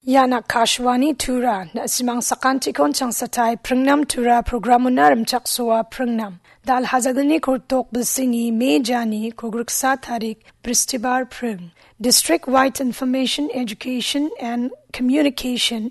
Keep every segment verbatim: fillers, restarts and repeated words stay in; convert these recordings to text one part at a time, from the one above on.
Ian Akashvani Tura, na·simang sakantikon changsatai pringnam Tura programona rimchaksoa pringnam. Dal hajalni kurtok bilsini me jani kogriksa tarik Bristibar pring. District Wide Information, Education and Communication,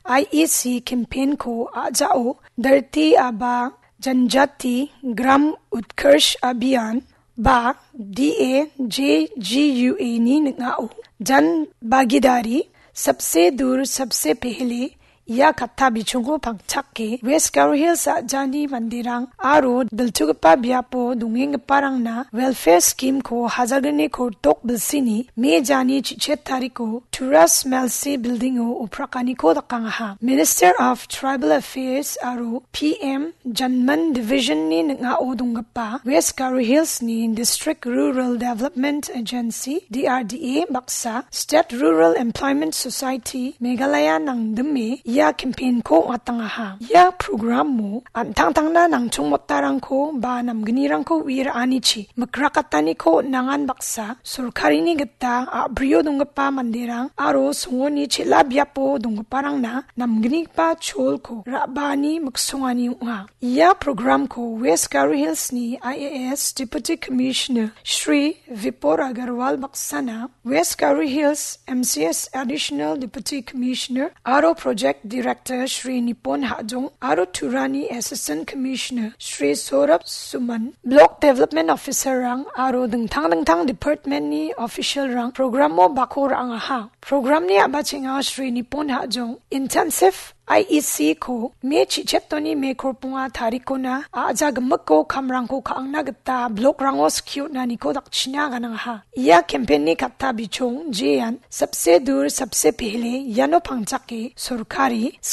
I E C campaign ko ajao Dharti Aaba Janjati Gram Utkarsh Abhiyan ba D A J G U A ni ning·ao Jan Bhagidari Sabse Dur Sabse Pehle ia katta bichongko pangchake West Garo Hills a·jani manderang aro diltugipa biapo dongenggiparangna welfare scheme ko hajalni kurtok bilsini me jani chichet tariko Turas Melsi building o oprakaniko dakangaha. Minister of Tribal Affairs aro P M Janman Division ni ning·ao donggipa West Garo Hills ni District Rural Development Agency, D R D A, baksa State Rural Employment Society Meghalaya nangdime ia campaign ko ong·atangaha. Ia programo an·tangtangna nangchongmotarangko ba namgnirangko ue ra·anichi mikrakataniko nangan baksa sorkarini gita a·brio donggipa manderang aro songoni chel·a biapo donggiparangna namgnigipa cholko ra·baani miksongani ong·a. Ia programko West Garo Hills ni I A S Deputy Commissioner Shri Vipor Agarwal baksana, West Garo Hills M C S Additional Deputy Commissioner aro Project Director Shri Nipon Hajong aro Turani Assistant Commissioner Shri Saurabh Suman, Block Development Officer rang aro dingtang dingtang department ni official rang programo bako ra·angaha. Programni a·bachenga Shri Nipon Hajong intensive I E C ko me chichetoni me korponga tarikona a·ja gimikko kamrangko ka·angna gita blokrango skiutaniko dakchina ganangaha. Ia campaign ni katta bichong jean Sabse Dur Sabse Pehle iano pangchake sorkari